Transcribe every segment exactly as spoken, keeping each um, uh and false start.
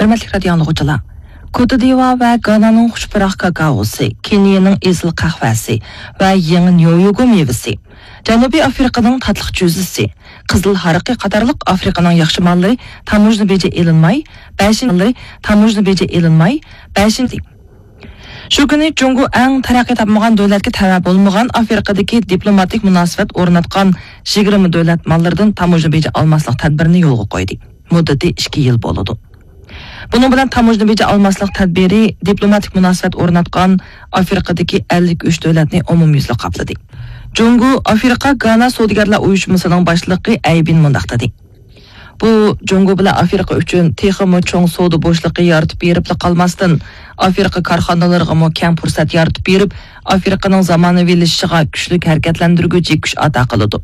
ھۆرمەتلىك رادىيو ئاڭلىغۇچىلار، كوتىدىۋا ۋە گانانىڭ خۇشپۇراق كاكائوسى، كېنىيەنىڭ ئېسىل قەھۋەسى ۋە يېڭى نيويوگو مېۋىسى، جەنۇبىي ئافرىقىنىڭ تاتلىق جۈزىسى، قىزىل ھارىقى قاتارلىق ئافرىقىنىڭ ياخشى ماللىرى تاموژنا بېجى ئېلىنماي، بەشىنچى، تاموژنا بېجى ئېلىنماي، بەشىنچى. شۇ كۈنى جۇڭگو ئەڭ تەرەققىي تاپمىغان دۆلەتكە تەۋە بولمىغان ئافرىقىدىكى دىپلوماتىك مۇناسىۋەت ئورناتقان يىگىرمە دۆلەت ماللىرىدىن تاموژنا بېجى ئالماسلىق تەدبىرىنى يولغا قويدى. مۇددىتى ئىككى يىل بولىدۇ. بۇنىڭ بىلەن تاموژنا بېجى ئالماسلىق تەدبىرى دىپلوماتىك مۇناسىۋەت ئورناتقان ئافرىقىدىكى ئەللىك ئۈچ دۆلەتنى ئومۇميۈزلۈك قاپلىدى. جۇڭگو ئافرىقا گانا سودىگەرلەر ئۇيۇشمىسىنىڭ باشلىقى ئەيبىن مۇنداق دېدى: بۇ جۇڭگو بىلەن ئافرىقا ئۈچۈن تېخىمۇ چوڭ سودا بوشلۇقى يارىتىپ بېرىپلا قالماستىن، ئافرىقا كارخانىلىرىغىمۇ كەڭ پۇرسەت يارىتىپ بېرىپ، ئافرىقىنىڭ زامانىۋىلىشىشىغا كۈچلۈك ھەرىكەتلەندۈرگۈچى كۈچ ئاتا قىلىدۇ.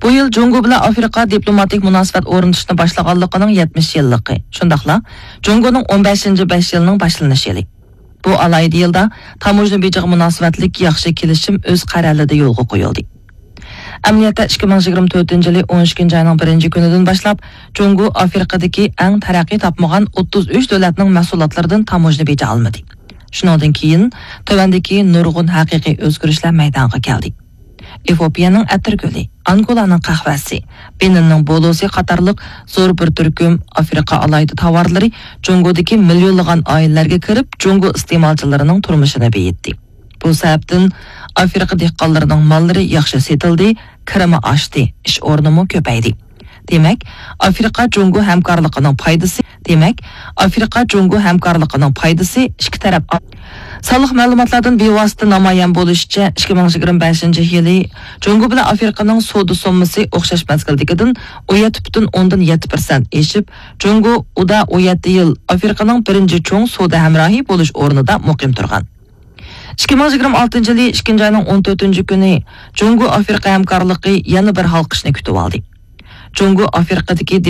بۇ يىل جۇڭگو بىلەن ئافرىقا دىپلوماتىك مۇناسىۋەت ئورنىتىشنى باشلىغانلىقىنىڭ يەتمىش يىللىقى، شۇنداقلا جۇڭگونىڭ ئون بەشىنچى بەش يىلىنىڭ باشلىنىش يىلى. بۇ ئالاھىدە يىلدا تاموژنا بېجىغا مۇناسىۋەتلىك ياخشى كېلىشىم ئۆز قەرەلىدە يولغا قويۇلدى. ئەمەلىيەتتە، ئىككى مىڭ يىگىرمە تۆتىنچى يىلى ئون ئىككىنچى ئاينىڭ بىرىنچى كۈنىدىن باشلاپ، جۇڭگو ئافرىقىدىكى ئەڭ تەرەققىي تاپمىغان ئوتتۇز ئۈچ دۆلەتنىڭ مەھسۇلاتلىرىدىن تاموژنا بېجى ئالمىدى. شۇنىڭدىن كېيىن تۆۋەندىكى نۇرغۇن ھەقىقىي ئۆزگىرىشلەر مەيدانغا كەلدى. ئېفىئوپىيەنىڭ ئەتىرگۈلى، ئانگولانىڭ قەھۋەسى، بېنىننىڭ بولۇسى قاتارلىق زور بىر تۈركۈم ئافرىقا ئالاھىدە تاۋارلىرى جۇڭگودىكى مىليونلىغان ئائىلىلەرگە كىرىپ، جۇڭگو ئىستېمالچىلىرىنىڭ تۇرمۇشىنى بېيىتتى. بۇ سەۋەبتىن ئافرىقا دېھقانلىرىنىڭ ماللىرى ياخشى سېتىلدى، كىرىمى ئاشتى، ئىش ئورنىمۇ كۆپەيدى. دېمەك، ئافرىقا جۇڭگو ھەمكارلىقىنىڭ پايدىسى، دېمەك، ئافرىقا جۇڭگو ھەمكارلىقىنىڭ پايدىسى ئىككى تەرەپ. سانلىق مەلۇماتلاردىن بىۋاسىتە نامايان بولۇشىچە، ئىككى مىڭ يىگىرمە بەشىنچى يىلى جۇڭگو بىلەن ئافرىقىنىڭ سودا سوممىسى ئوخشاش مەزگىلدىكىدىن ئون يەتتە پۈتۈن ئوندىن يەتتە پىرسەنت ئېشىپ، جۇڭگو ئۇدا ئون يەتتە يىل ئافرىقىنىڭ بىرىنچى چوڭ سودا ھەمراھى بولۇش ئورنىدا مۇقىم تۇرغان. ئىككى مىڭ يىگىرمە ئالتىنچى يىلى ئىككىنچى ئاينىڭ ئون تۆتىنچى كۈنى جۇڭگو ئافرىقا ھەمكارلىقى يەنە بىر ھالقىشنى كۈتۈۋالدى. جۇڭگو ئافرىقىدىكى